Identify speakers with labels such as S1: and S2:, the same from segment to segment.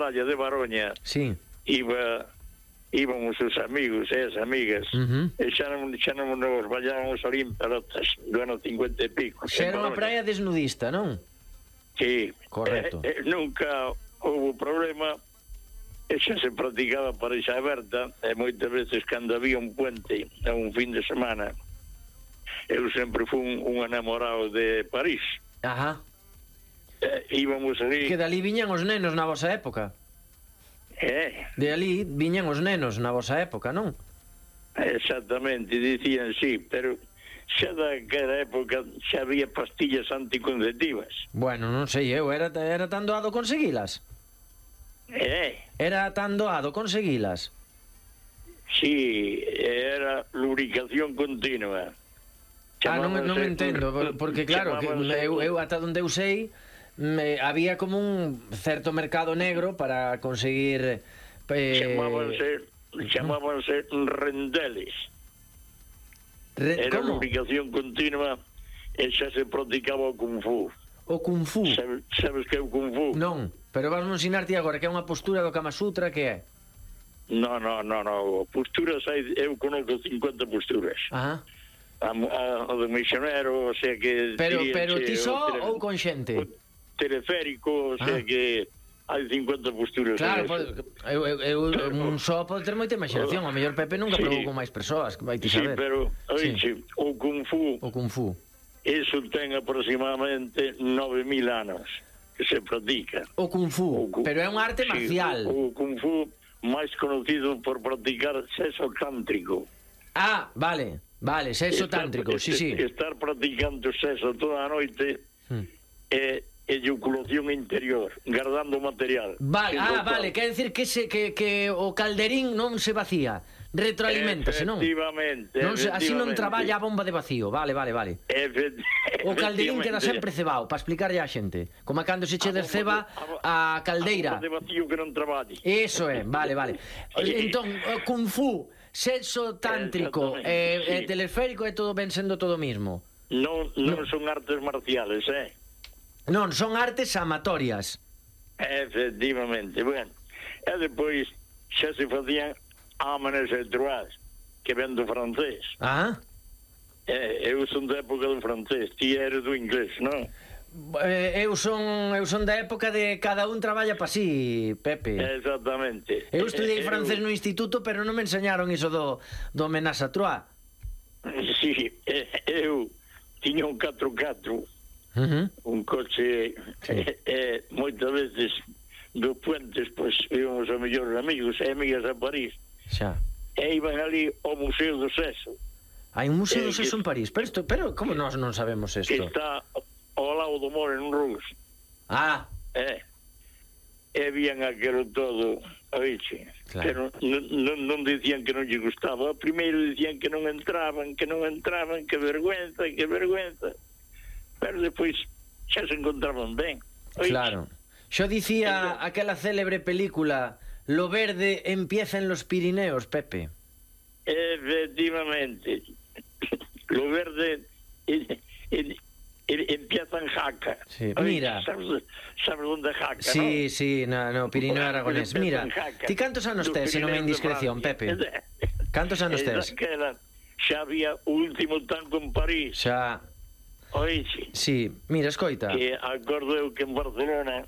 S1: Canalla de Baroña,
S2: Sí.
S1: íbamos os amigos e as amigas, e xa non nos vayábamos ali en pelotas do ano 50 e pico.
S2: Xa era unha praia desnudista, non?
S1: Sí.
S2: Correcto.
S1: Nunca houve problema, e xa se practicaba parexa aberta, e moitas veces cando había un puente a un fin de semana, eu sempre fui un enamorado de París.
S2: Ajá.
S1: Íbamos ali...
S2: Que dali viñan os nenos na vosa época. De ali viñan os nenos na vosa época, non?
S1: Exactamente, dicían sí, pero xa daquela época xa había pastillas anticonceptivas.
S2: Bueno, non sei, eu era tan doado conseguilas. Era tan doado conseguilas.
S1: Sí, era lubricación continua.
S2: Non me entendo, porque claro, que eu ata onde eu sei, había como un certo mercado negro para conseguir...
S1: Chamábanse rendeles. Era lubricación continua e xa se practicaba o Kung Fu.
S2: O Kung Fu?
S1: Sabes que é o Kung Fu?
S2: Non, pero vas a ensinarte agora que é unha postura do Kama Sutra, que é?
S1: No, posturas eu conozco 50 posturas.
S2: Ajá.
S1: O do misionero, o sea que...
S2: Pero ti só ou con xente?
S1: O teleférico, o sea que hai 50 posturas.
S2: Claro, eu un só pode ter moita imaginación. O mellor Pepe nunca probou con máis persoas, vai ti saber.
S1: Sí, pero, oixe, o Kung Fu, eso ten aproximadamente 9.000 anos que se practica.
S2: O Kung Fu, pero é unha arte marcial.
S1: O Kung Fu máis conocido por practicar sexo tántrico.
S2: Ah, vale, sexo tántrico, sí.
S1: Estar practicando sexo toda a noite é eyaculación interior, guardando material.
S2: Vale, quer decir que o calderín non se vacía, retroaliméntase, non?
S1: Efectivamente.
S2: Así non traballa a bomba de vacío, vale. O calderín queda sempre cebado, para explicarlle á xente. Como cando se che desceba a caldeira.
S1: A bomba de vacío que non traballe.
S2: Eso é, vale. Entón, Kung Fu, sexo tántrico e teleférico é todo ben sendo todo mismo.
S1: Non son artes marciales,
S2: Non, son artes amatorias.
S1: Efectivamente, bueno. E depois xa se facían amenes e droits, que ven do francés. Eu son da época do francés, ti eres do inglés, non?
S2: Eu son da época de cada un traballa pa si, Pepe.
S1: Exactamente.
S2: Eu estudiei francés no instituto, pero non me enseñaron iso do homenaxe a trois.
S1: Sí, eu tiña un 4x4, un coche, moitas veces dos puentes, pois íbamos a mellores amigos e amigas a París, e iban ali ao Museo do Sexo.
S2: Hai un Museo do Sexo en París? Pero como nós non sabemos isto?
S1: Que está ao lado do Moulin Rouge. E vían aquilo todo, oixe, pero non dicían que non lle gustaba. Primeiro dicían que non entraban, que vergüenza, pero depois xa se encontraban ben.
S2: Claro. Xo dicía aquela célebre película Lo verde empieza en los Pirineos, Pepe.
S1: Efectivamente. Lo verde empieza en Jaca.
S2: Mira.
S1: Sabes onde é Jaca,
S2: non? Sí, no Pirineo Aragonés. Mira, ti cantos anos tes, se non me indiscreción, Pepe? Cantos anos tes?
S1: Xa había o último tango en París.
S2: Xa.
S1: Oixe.
S2: Sí, mira, escoita.
S1: Que acordo eu que en Barcelona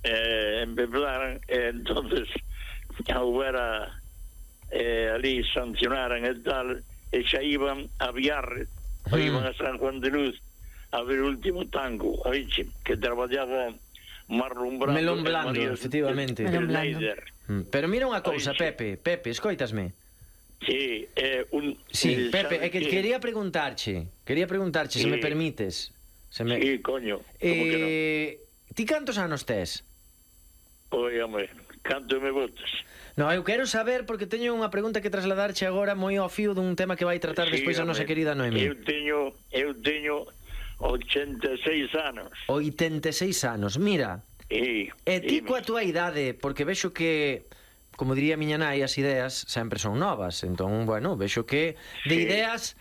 S1: empezaran, entonces houbera ali sancionaran e tal, e xa iban a Viarre, iban a San Juan de Luz a ver o último tango, oixe, que traballaba Marlon Brando.
S2: Melón Blando, efectivamente. Pero mira unha cousa, Pepe, escoitasme.
S1: Sí,
S2: Pepe, é que quería preguntarche, se me permites.
S1: Sí, coño, como que non?
S2: Ti cantos anos tes?
S1: Oígame, canto me botas?
S2: No, eu quero saber, porque teño unha pregunta que trasladarche agora moi ao fío dun tema que vai tratar despois a nosa querida Noemí.
S1: Eu teño 86 anos.
S2: 86 anos, mira. E ti coa túa idade, porque vexo que, como diría miña nai, as ideas sempre son novas. Entón, bueno, vexo que de ideas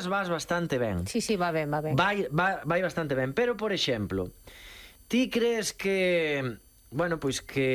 S2: vas bastante ben.
S3: Sí, va ben.
S2: Vai bastante ben, pero, por exemplo, ti crees que, bueno, pois que